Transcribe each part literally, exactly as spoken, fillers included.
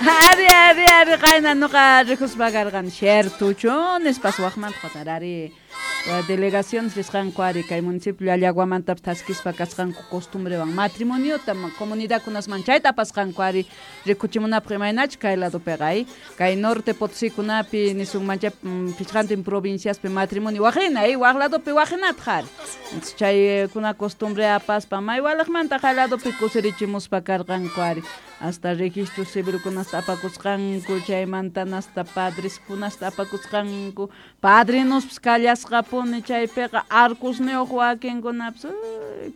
Ari, ari, ari, qayna nuqa rikuspa karqan ciertuchu nispas waqmanta qatarari delegaciones risqanku ari kay municipio Llallaguamantapas thaskispa kasqanku costumbrewan matrimoniota comunidadkunasman chayta apasqanku ari rikuchimunapaq imaynachu kay ladopiqa ay kay norte Potosikunapi nisunmancha pichqantin provinciaspi matrimonio waqina ay waq ladopi waqinataq ari chaykuna costumbre apaspa may walaqmanta kay ladopi kusirichimuspa karqanku ari hasta registro civilkunasta apakusqanku chaymanta hasta padreskunasta apakusqanku padrinospas kallasqapuni chaypiqa arcosniyuq wakinkunapas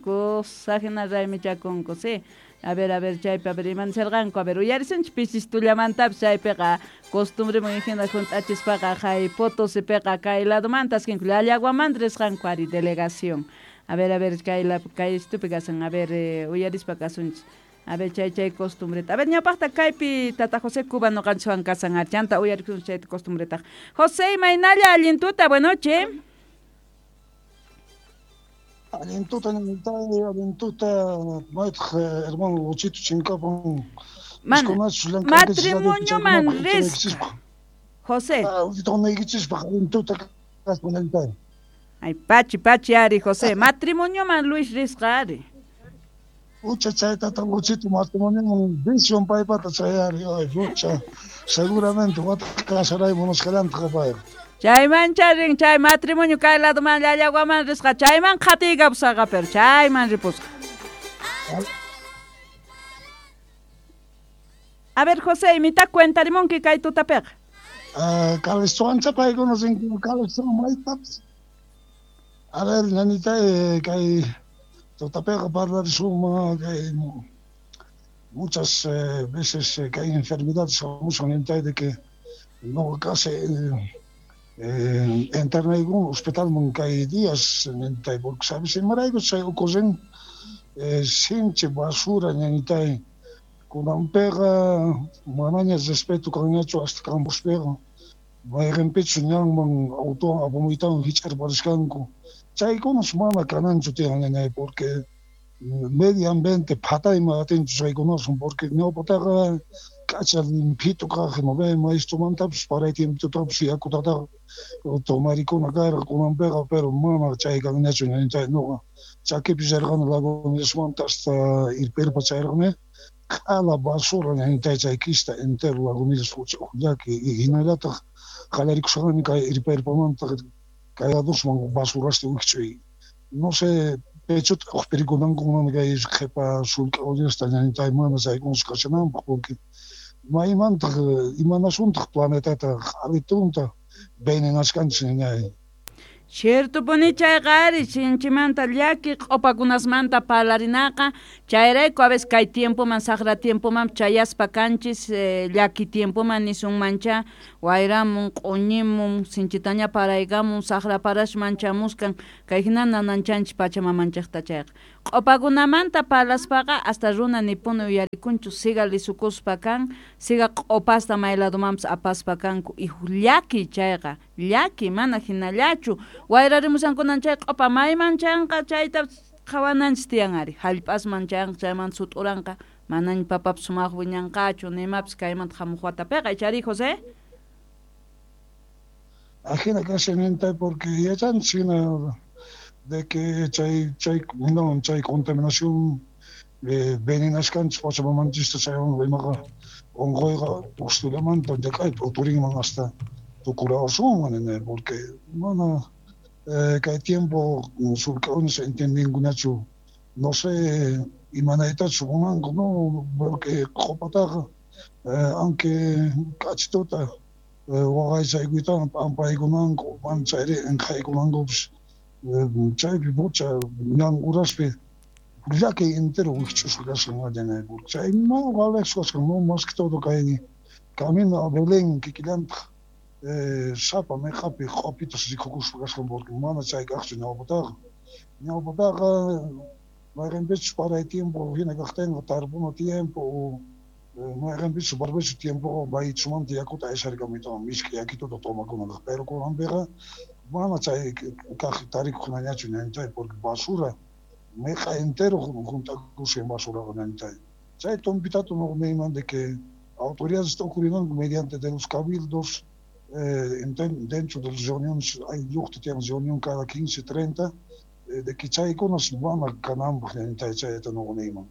cosa hina raymichakunku sí. A ver, a ver, chaypi, a ver, imanisarqanku, a ver, uyarisunchik pisistullamantapas chaypiqa costumbreman hina hunt'achispaqa hay Potosipiqa kay ladomanta askinku Llallaguamanta risqanku ari delegación. A ver, a ver, kay la kay estupi kasan, a ver, eh, uyarispa kasunchik. A ver, chay chay costumbreta. A ver, ñawpaqta kaypi tata José Cuba noqanchikwan kasan ari, chanta uyarisunchik chayta costumbretaqa. José, imaynalla allin tuta, buenas noches. Allin tuta, allin tuta, maytaq hermano Luchito chinkapan. Mana, matrimonioman risqa. José. Allin tuta kaspa ñanitay. Ay, pachi, pachi ari, José. Matrimonioman Luis risqa ari. Ucha chay tata Luchito matrimonioman visión paypata chay ari, ay, ucha. Seguramente wataq kasaray munasqallantaq payqa. Chayman charin, chay matrimonio kay ladoman Llallaguaman risqa, chayman qhatiykapusqa pero chayman ripusqa. A ver, José, imita cuentarimunki kay tutapiqa. Ah, Calestuancha paykuna rinku, Calestuan maytapas. A ver, ñanita, kay tutapiqa parlarisunman kay muchas eh, veces eh, que hay enfermedades hamusan ñanitay de que no casi eh, Eh, internayku hospitalman kay días ñanitay porque sabes imarayku chay ocurren eh, sinchi basura ñanitay kunanpiqa manaña respeto kanñachu hasta campospiqa mayqinpichu ñanman auto apamuytawan hich'arparisqanku chaykunas mana kananchu tiyan ñañay porque medio ambiente phatayman atinchu chaykunasun porque ñawpataqa k'acha limpito kaq no ve maestromantapas paray tiempotapis yakutataqa tomarikuna karqa kunanpiqa pero mana chay kanñachu ñanitay nuqa chakipi rirqani Lagunillasmanta hasta Irpirpa chayrqani q'ala basura ñanitay chay kista entero Lagunillas llaki hinallataq qallarikusqani kay Irpirpamanta kay ladosman basurasta wikch'uy no sé pechota uqpirikunankuman kay qhipa sullk'a ullasta ñanitay mana chaykunas kashananpaq porque maymantaq imanasuntaq planetata q'alitunta venenasqanchis ñañay. Ciertopuni chayqa ari sinchimanta llaki q'upakunasmanta parlarinaqa chayrayku a veces kay tiempoman saqra tiempoman chayaspa kanchis eh, llaki tiempoman nisunmancha wayramun q'uñimun sinchitaña paraykamun saqra parashman chamuskan kay hina nananchanchis pachamamanchikta chayqa q'upakunamanta parlaspaqa hasta runa nipuni uyarikunchu siga lisukuspa kan siga q'upasta may ladomanpas apaspa kanku y llaki chayqa llaki mana hinallachu wayrarimusankunan chay q'upa mayman chanqa chayta qhawananchis tiyan ari hallp'asman chanqa chayman sut'uranqa manaña papapas sumaq wiñanqachu nimapis kaymanta hamuq watapiqa ichari José. Ajina kashan ñanitay porque yachanchis hina de que chay chay no chay contaminación eh, venenasqanchis pachamamanchista chaywan imaqa unquyqa ustulamanta llak'aypi uturinman hasta tukurawasunman nini porque mana eh, kay tiempo sullk'aunas entendinkunachu no sé imanaytachu munanku no porque qhupataqa eh, aunque k'achituta eh, waqaychaykuytawan p'ampaykunanku mana chayri inqhaykunankupis chaypi pucha ñan uraspi llaki entero wikch'usqa kasqan ñanay porque chay no valeqsu kasqan no más que todo kay camino a Belén kikillantaq eh, sapa meqapi q'upitas rikukuspa kasqan porque mana chay kaqchu ñawpataqa ñawpataqa mayqinpichus paray tiempo hina kaqtinqa tarpuna tiempo o mayqinpichus barbecho tiempo maychumanta yakuta aysarikamuytawan misk'i yakituta tomakunapaq pero kunanpiqa mana chay kaq tarikuqnañachu ñanitay porque basura meqa entero hunt'akusqan basuraqa ñanitay chay tumpitata nuqa niyman de que Autoridades t'ukurinanku mediante de los cabildos, eh, dentro de las reuniones, hay lluqta tiyan reunión cada quince, treinta, eh, de que chaykunas mana kananpaq ñañitay chayta nuqa niyman.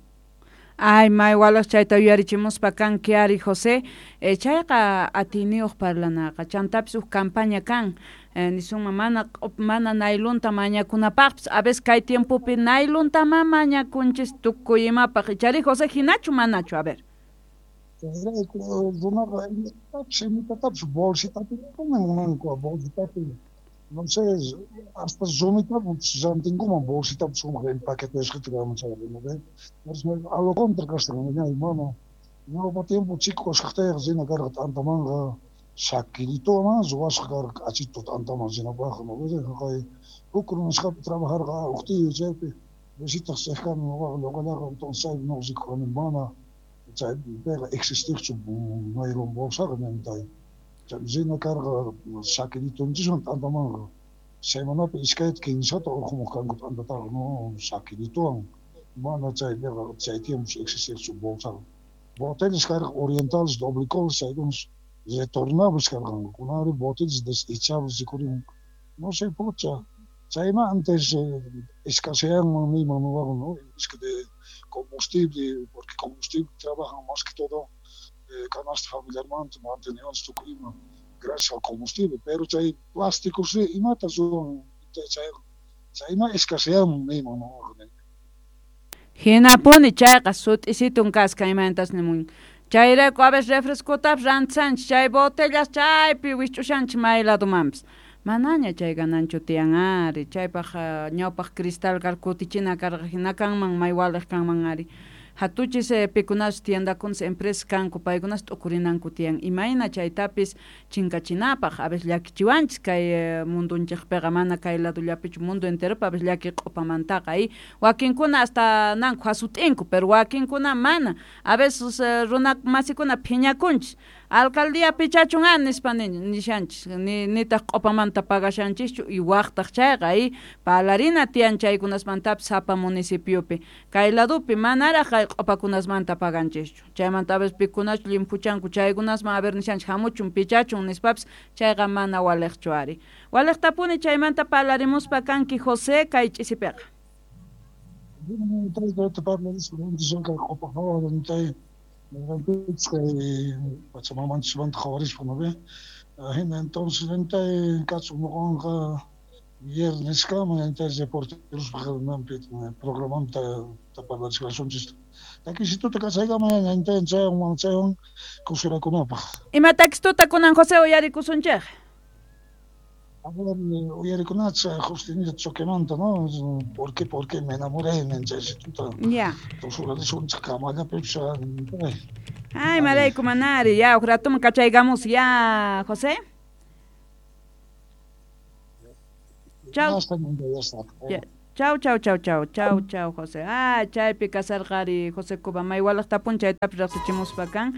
Ay, may walaj chayta yuyarichimuspa kanki ari José, eh, chayqa atiyniyuq parlanaqa, chantapis huk campaña kan, eh, nisunman mana mana naylunta mañakunapaqpis, a veces kay tiempopi naylunta ma mañakunchis tukuy imapaq, ichari José hinachu manachu, a ver. Chayrayku runaqa imatapis imatatapis bolsitapi munanku, bolsitapi, no sé, hasta rumitapis rantinkuman bolsitapi sumaq empaquetesqata kanman chayqa, ¿no ve? A lo contra kasqa, ñay mana, ñawpa tiempo chico kashaqtayqa rina karqa t'antamanqa shakirituwan ruwasqa karqa k'achitu t'antaman rinapaqqa, ¿no ve? Jaqay huk runasqapi trabajarqa huk tío chaypi visitaq riqkani nuqaqa ñuqallaqa, entonces chaypi nuqa rikuqani mana chaypiqa existiqchu naylon bolsaqa ñañitay. Rina karqa shakiritunchiswan t'antamanqa semanapi iskayta kinsata urqumuq kanku t'antataqa, no shakirituwan mana chaypiqa chay tiempos existiqchu bolsaqa. Botellas karqa orientales doblicoles chaykunas retornables karqanku, kunanri botellas desechables rikurimun, no sé pucha, chayma antes escaseanman niyman nuqaqa, no, es que de combustible, porque combustible trabajan más que todo eh, canasta familiarmanta manteniendo tukuy ima gracias al combustible, pero chay plásticos imata ruwan chay chayma escaseanman niyman nuqaqa. Hinapuni chayqa sut'isitun kasqa imayntas nimun. Chayrayku a veces refrescotapis rantisanchis chay botellas chaypi wisch'ushanchis may ladomanpis. Manaña chay gananchu tiyan ari, chaypaq ñawpaq cristal kar kutichina karqa hina kanman may waliq kanman ari. Hatuchis eh, pikunas tiendakunas empresas kanku paykunas t'ukurinanku tiyan imayna chaytapis chinkachinapaq, a veces llakichiwanchis kay eh, mundunchikpiqa mana kay ladollapichu mundo enteropi a veces llaki q'upamantaqa y wakinkuna hasta nanku hasut'inku pero wakinkuna mana, a veces eh, runa masikuna phiñakunchis alcaldía pichachun a nispa nishanchis ni nitaq q'upamanta pagashanchischu y waqtaq chayqa y parlarina tiyan chaykunasmantapis sapa municipiopi kay ladopi manaraq kay q'upakunasmanta paganchischu chaymanta a veces pikunachu llimphuchanku chaykunasman a ver nishanchis hamuchun pichachun nispapis chayqa mana waliqchu ari. Waliqtapuni chaymanta parlarimuspa kanki José kay ch'isipiqa. Pachamamanchikmanta qhawarispa, ¿no ve? Hina entonces kachun nuqanqa vierneskama ñañitay reporterospaq programanta parlarichkasunchis. Takisituta kachaykama ñañitay chaywan chaywan kusirakunapaq. Ima takisituta kunan José uyarikusunchik? A ver, uyarikunacha Justinita Choquemanta, ¿no? ¿Por qué, por qué me enamoré? Chaytuta. Ya. Tusurarisunchik kamallapipas. Ay, marayku manari, ya, huk ratuman kachaykamus, ya, José. Chau. Chau, chau, chau, chau, chau, chau, José. Ah, chaypi kasarqari José Cuba, may walaqtapun chaytapis riqsichimuspa kan.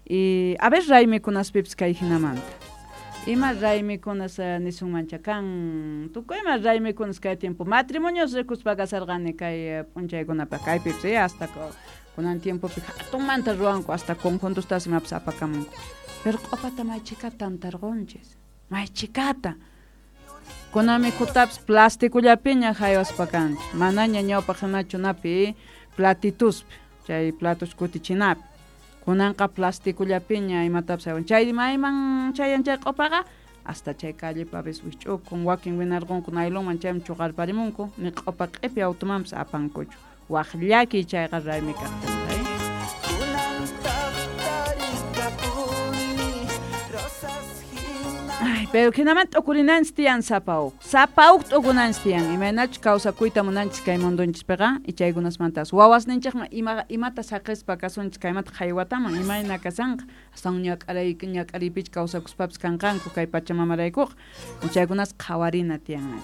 Y a ver raymikunaspipis kay hinamanta. Ima raymikunas nisunmancha kan, tukuy ima raymikunas kay tiempo. Matrimonios rikuspa kasarqani kay p'unchaykunapaq kaypipis, eh, hasta kunan tiempopi hatunmanta ruwanku hasta conjuntustas imapis apakamunku. Pero q'upata may chikata tantarqunchis, may chikata. Kunan mikhutapis plastikullapiña haywaspa kanchis, manaña ñawpaq hinachu napi platituspi, chay platos kutichinapi. Kunanqa plastikullapiña imatapis haywan. Chay mayman chayan chay q'upaqa hasta chay callepi a veces wisch'ukun, wakin winarqunku naylonman chayman chuqarparimunku, ni q'upa q'ipi automanpis apankuchu. Waq llakiy chayqa raymi kaqtinqa, eh. Ay, pero hinaman t'ukurinanchis tiyan sapa huk. Sapa huk t'ukunanchis tiyan. Imaynachus kawsakuyta munanchis kay mundunchispiqa y chaykunasmantas. Wawasninchikman ima, imata saqispa kasunchis kaymanta haywataman imayna kasanqa. Astawan ñak'aray ñak'ariypicha kawsakuspapis kanqanku kay pachamamaraykuqa. Chaykunas qhawarina tiyan.